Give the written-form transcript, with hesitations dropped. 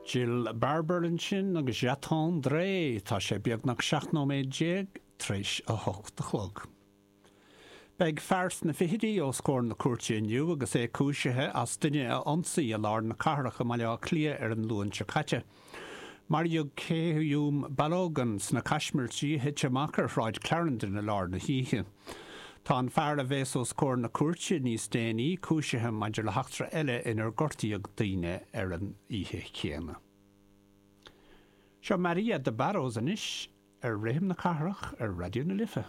Jill Barber ansin agus J'attendrai. Tá sé beagnach 17 nóiméad tar éis a hocht a chlog. Beidh fear sna fichidí os comhair na cúirte inniu agus é cúisithe as duine a ionsaí i lár na cathrach i mBaile Átha Cliath ar an Luan seo caite. Maraíodh Kehayum Balogun sna caismirtí a thit amach ar Shráid Clarendon i lár na hoíche. Tá an fear a bheas os comhair na cúirte níos déanaí cúisithe maidir le heachtra eile inar gortaíodh daoine ar an oíche chéanna. Seo Maria de Barros anois ar Rithim na Cathrach ar Raidió na Life.